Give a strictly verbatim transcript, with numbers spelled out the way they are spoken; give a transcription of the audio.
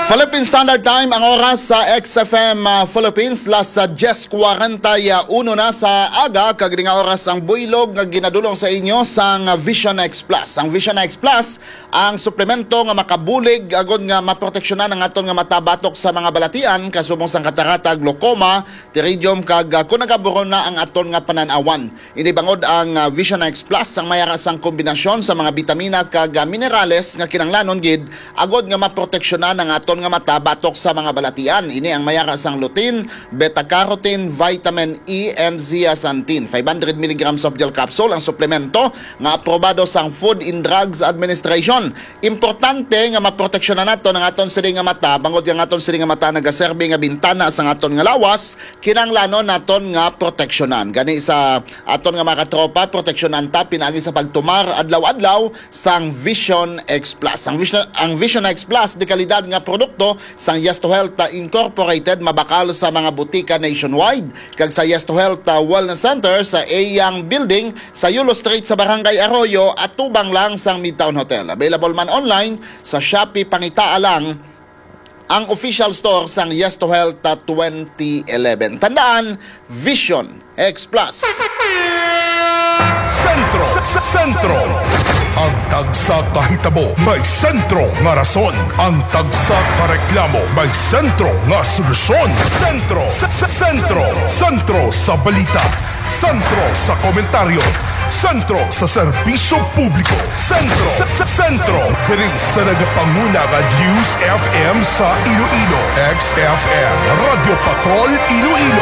Philippine Standard Time ang oras sa X F M, ah, Philippines, las, ah, diyes kwarenta y uno na sa aga, kag ini nga oras ang buylog nga ginadulong sa inyo sang, ah, Vision X Plus. Ang Vision X Plus, ang suplemento nga makabulig agod nga maproteksyonan ang aton nga mata batok sa mga balatian, kasubong sang katarata, glaucoma, pterygium, kag, ah, kung nagaburon na ang aton nga panan-awan. Ini bangod ang, ah, Vision X Plus ang may ara sang kombinasyon sa mga bitamina kag, ah, minerales nga kinahanglanon gid agod nga maproteksyonan ang aton nga mata batok sa mga balatian. Ini ang may ara sang lutein, beta-carotene, vitamin E, and zeaxanthin. Five hundred milligrams of gel capsule ang suplemento nga aprobado sang Food and Drugs Administration. Importante nga maproteksyonan naton ang aton sini nga mata, bangod nga ang aton sini nga mata nagaserbi nga bintana sang aton nga lawas, kinahanglanon naton nga proteksyonan. Gani sa aton nga mga katropa, proteksyonan ta pinaagi sa pagtumar adlaw-adlaw sang Vision X Plus. Ang Vision, ang Vision X Plus, de kalidad nga produkto sang Yes to Health, ah, Incorporated, mabakal sa mga butika nationwide, kag sa Yes to Health, ah, Wellness Center sa Eyang Building sa Yulo Street sa Barangay Arroyo, atubang lang sang Midtown Hotel. Available man online sa Shopee, pangitaa lang ang official store sang Yes to Health, ah, twenty eleven. Tandaan, Vision X Plus. Sentro, s-, s-, Sentro. Ang tagsa ka hitabo may sentro nga rason. Ang tagsa ka reklamo may sentro nga solusyon. Sentro, s-, s-, Sentro. Sentro sa balita. Sentro sa komentaryo. Sentro sa serbisyo publiko. Sentro, s-, s-, Sentro. Diri sa nagapanguna nga News F M sa Iloilo, X F M, Radyo Patrol Iloilo.